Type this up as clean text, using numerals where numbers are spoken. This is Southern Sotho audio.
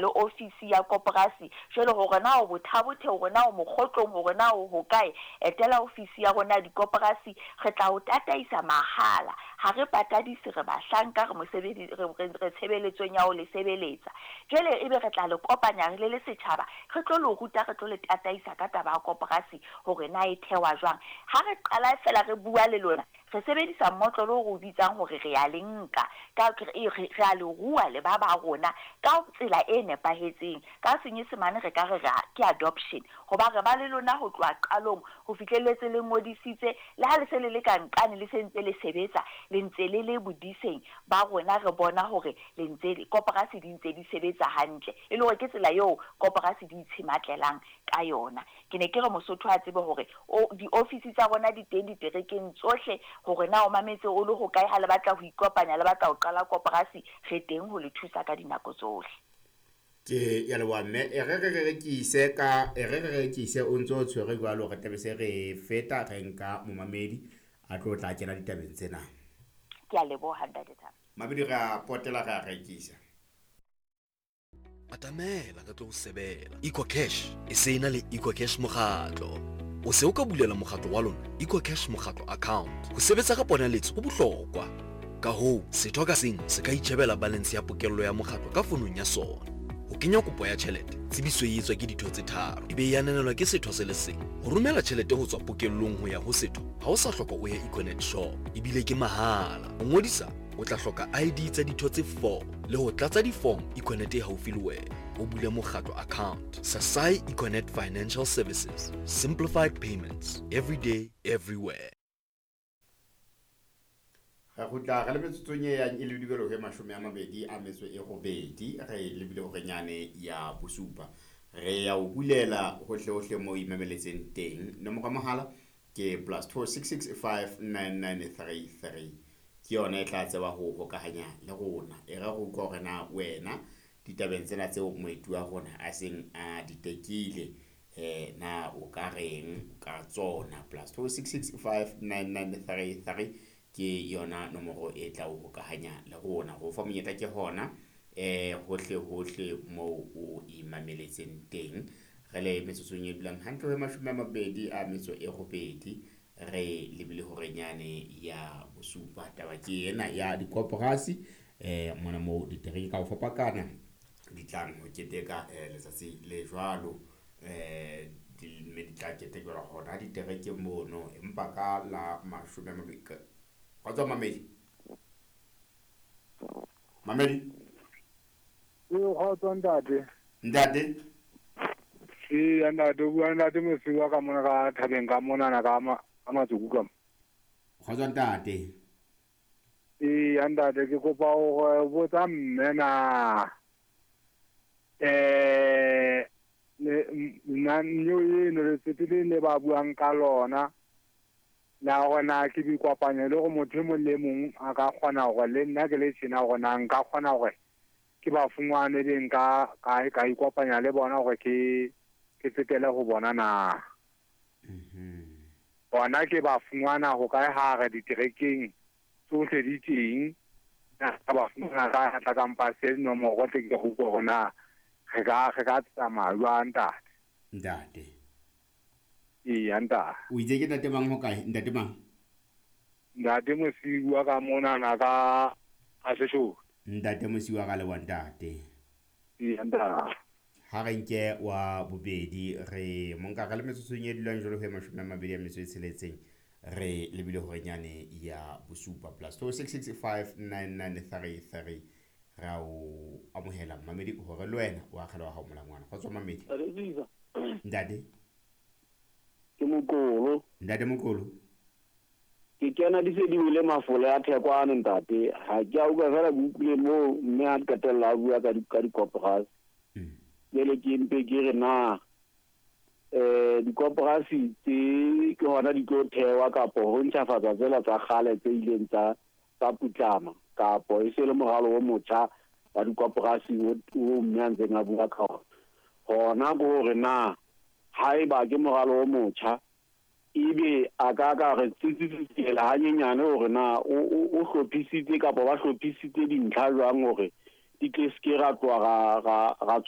le ofisi ya koporasi. Jwale hore na o Botha-Bothe, hore na o Mokgotlong, hore na o hokae, etela ofisi ya rona ya dikoporasi, re tla o tataisa mahala. Ha re patadise, re bahlanka, re mosebedi, re tshebeletsong ya ho le sebeletsa. Jwale ebe re tla le kopanya re le le setjhaba, re tlo le ruta, re tlo le tataisa ka taba ya koporasi hore na e thewa jwang. Ha re qala fela re bua le lona, re sebedisa mmotlolo o re o bitsang hore re a le nka, ka re a le rua le ba ba rona ka tsela e nepahetseng. Ka Senyesemane re ka re ke adoption, hoba re ba le lona ho tloha qalong ho fihlelletse le ngodisitse, le ha le se le le ka nqane le se ntse le sebetsa, le ntse le le bodiseng ba rona, re bona hore le ntse koporasi di ntse di sebetsa hantle, e le hore ke tsela eo koporasi di itshematlelang ka yona. Ke ne ke re Mosotho a tsebe hore o diofisi tsa rona di teng diterekeng tsohle, hore na o mametse o le hokae, ha le batla ho ikopanya, le batla ho qala koporasi, re teng ho le thusa ka dinako tsohle. Ke ya leboha mme, e re re rekise ka e re re rekise o ntso o tshwere jwalo, re tlabe se re feta re nka momamedi a tlo tla kena ditabeng tsena. Ke a leboha ntate Thabo. Mamedi re a potela re a rekisa. Atamela re tlo o sebela. EcoCash e se e na le EcoCash mokgatlo. O se o ka bulela mokgatlo wa lona EcoCash mokgatlo account. Ho sebetsa ka ponaletso ho bohlokwa. Ka hoo, setho ka seng se ka itjhebela balance ya pokello ya mokgatlo ka fonong ya sona. Ho kenya kopo ya tjhelete, tsebiso e etswa ke ditho tse tharo, e be e ananelwa ke setho se le seng. Ho romela tjhelete ho tswa pokellong ho ya ho setho, ha o sa hloka o ye Econet shop, ebile ke mahala. Ho ngodisa, o tla hloka ID tsa ditho tse 4 le ho tlatsa di-form Econet e haufi le wena. O bule mokgatlo account. Sasai Econet Financial Services. Simplified payments. Every day, everywhere. Re kgutla re le metsotsong e yang e le dibelo he 28, re lebile horenyane ya bosupa. Re ya o bulela hohle hohle mo imameletseng teng. Nomoro ya mohala ke +266 59933, ke yona e tla tseba ho hokahanya le rona. E re re utlwa hore na wena ditabeng tsena tseo moeti wa rona a seng a di tekile, na o ka reng ka tsona. +266 59933 ke yona nomoro e tla o hokahanya le rona. Ho fa monyetla ke hona hohle hohle moo o imameletseng teng. Re le metsotsong e dulang hantle ho 28, re lebile horenyane ya bosupa. Taba ke ena ya dikoporasi, mona moo ditereke ka ho fapakana di tlang ho keteka letsatsi le jwalo, mme di tla ketekelwa hona diterekeng mono, empa ka la 20. Kgotso mamedi, mamedi. Ee, kgotso ntate. Ntate. Ee, ntate, o bua ntate Mosiwa ka mona ka thabeng ka monana ka Matsoku ka mo. Kgotso ntate. Ee, ntate, ke kopa hore botsa mme na nna nyo eno letsete le ba buang ka lona, na hore na ke dikopanya le hore motho e mong le mong a ka kgona hore le nna ke le tjena, hore na nka kgona hore ke ba fumane be nka ka ikopanya le bona hore ke tsetele ho bona na. Bona ke ba fumana ho kae ha re diterekeng tsohle di teng, na ka ba fumana ka tla ka mpa se nomoro tle ke go utlwe hore na re ka tsamaya jwang, ntate. Ntate. Eya, ntate. O itse ke ntate mang, ho kae ntate mang? Ntate Mosiwa ka monana ka Seshoto. Ntate Mosiwa, ka leboha ntate. Eya, ntate. Ha re nke wa bobedi, re monka re le metsotsong e dulang jwalo ho 26, re lebile horenyane ya bosupa. +266 59933, re a o amohela mamedi hore le wena o akgela wa hao molangwana. Kgotso mamedi. Ntate. Ntate. Ke Moqolo. Ntate Moqolo. Ke kena di se di wele mafole a thekwane ntate. Ha ke a utlwa fela, ke utlwile moo mme a qetella a bua ka dikoporasi. Jwale ke mpe ke re na dikoporasi tse ke hona di tlo thewa kapo ho ntjhafatsa tsela tsa kgale tse ileng tsa putlama, kapo e se le moralo o motjha wa dikoporasi o mme a ntseng a bua ka ona? Hona ke hore na haeba ke moralo o motjha, ebe a ka re tsitsitsela hanyenyane hore na o hlophisitse kapa ba hlophisitse dintlha jwang hore di tle se ke ra tloha ra